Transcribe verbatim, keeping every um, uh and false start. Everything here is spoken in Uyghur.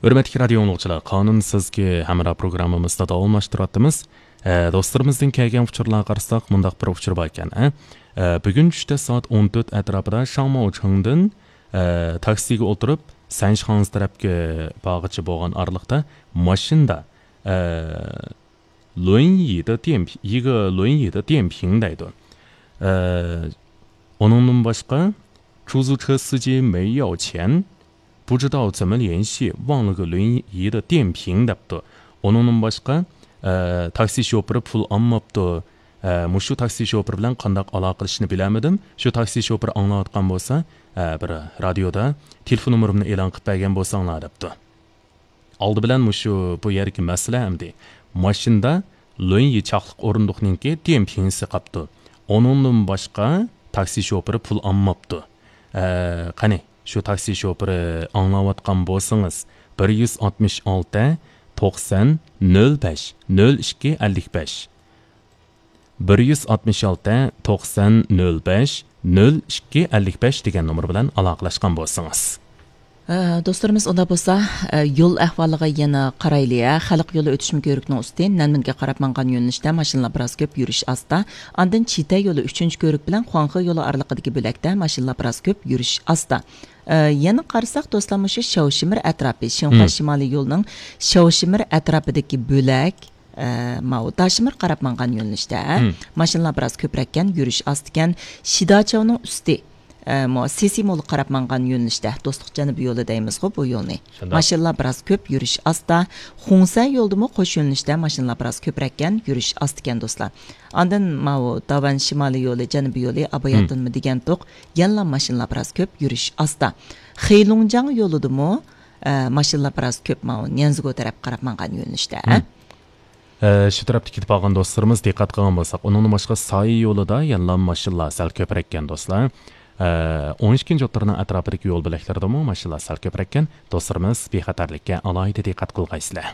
ھۆرمەتلىك رادىيو ئاڭلىغۇچىلار، قانۇن سىزگە ھەمراھ پروگراممىمىزدا داۋاملاشتۇرۇۋاتىمىز. ئە، دوستلىرىمىزدىن كەلگەن ئۇچۇرلارغا قارىساق، مۇنداق بىر ئۇچۇر بار ئىكەن، ئە. ئە، بۈگۈن چۈشتە سائەت ئون تۆت ئەتراپىدا شاڭماۋچىڭدىن، ئە، تاكسىگە ئولتۇرۇپ، سەنشخاڭزى تەرەپكە بارغىچە بولغان ئارىلىقتا ماشىنىدا، ئە، 轮椅的电瓶، 一个轮椅的电瓶 دەيدۇ. ئە، ئۇنىڭدىن باشقا، 出租车司机没要钱، 不知道怎么联系， 忘了个轮椅的电瓶 دەپتۇ. ئۇنىڭدىن باشقا، ئە، تاكسى شوپۇرى پۇل ئالماپتۇ. ئە، مۇشۇ تاكسى شوپۇرى بىلەن قانداق ئالاقىلىشىشنى بىلەلمىدىم. شۇ تاكسى شوپۇرى ئاڭلاۋاتقان بولسا، ئە، بىر رادىيودا تېلېفون نومۇرۇمنى ئېلان قىلىپ بەرگەن بولساڭلار دەپتۇ. ئالدى بىلەن مۇشۇ بۇ يەردىكى مەسىلە ئەمدى. ماشىنىدا 轮椅 چاقلىق ئورۇندۇقنىڭكى 电瓶 سى قاپتۇ. ئۇنىڭدىن باشقا تاكسى شوپۇرى پۇل ئالماپتۇ. ئە، قېنى، شۇ تاكسى شوپۇرى ئاڭلاۋاتقان بولسىڭىز، 166-90-05-02-55، 166-90-05-02-55 دېگەن نومۇر بىلەن ئالاقىلەشكەن بولسىڭىز. ئە، دوستلىرىمىز، ئۇنداق بولسا، ئە، يول ئەھۋالىغا يەنە قارايلى، ھە. خەلق يولى ئۆتۈشمە كۆۋرۈكىنىڭ ئۈستى نەنمىنگە قاراپ ماڭغان يۆنىلىشتە ماشىنىلار بىراز كۆپ، يۈرۈش ئاستا. ئاندىن چىتە يولى ئۈچىنچى كۆۋرۈك بىلەن خۇاڭخې يولى ئارىلىقىدىكى بۆلەكتە ماشىنىلار بىراز كۆپ، يۈرۈش ئاستا. ئە، يەنە قارىساق، دوستلار، مۇشۇ شياۋشىمىر ئەتراپى، شىنخۇا شىمالىي يولىنىڭ شياۋشىمىر ئەتراپىدىكى بۆلەك، ئە، ماۋۇ داشىمىر قاراپ ماڭغان يۆنىلىشتە، ھە؟ ماشىنىلار بىراز كۆپرەككەن، يۈرۈش ئاستىكەن. شىداچاۋنىڭ ئۈستى، ئە، مو-، سېسىمولغا قاراپ ماڭغان يۆنىلىشتە، دوستلۇق جەنۇبىي يولى دەيمىزغۇ بۇ يولنى. شۇنداق. ماشىنىلار بىراز كۆپ، يۈرۈش ئاستا. خۇڭسەن يولىدىمۇ قوش يۆنىلىشتە ماشىنىلار بىراز كۆپرەككەن، يۈرۈش ئاستىكەن، دوستلار. ئاندىن ماۋۇ داۋەن شىمالىي يولى، جەنۇبىي يولى، ئاباياتىنمۇ دېگەنتۇق، يەنىلا ماشىنىلار بىراز كۆپ، يۈرۈش ئاستا. خېيلۇڭجاڭ يولىدىمۇ، ئە، ماشىنىلار بىراز كۆپ، ماۋۇ نيەنزىگو تەرەپ قاراپ ماڭغان يۆنىلىشتە. ئە، شۇ تەرەپتە كېتىپ قالغان دوستلىرىمىز دىققەت قىلغان بولساق، ئۇنىڭدىن باشقا سايى يولىدا يەنىلا ماشىنىلار سەل كۆپرەككەن دوستلار. ئە، ئون ئىككىنچى ئوتتۇرىنىڭ ئەتراپىدىكى يول بۆلەكلىرىدىمۇ ماشىنىلار سەل كۆپرەككەن. دوستلىرىمىز بىخەتەرلىككە ئالاھىدە دىققەت قىلغايسىلەر.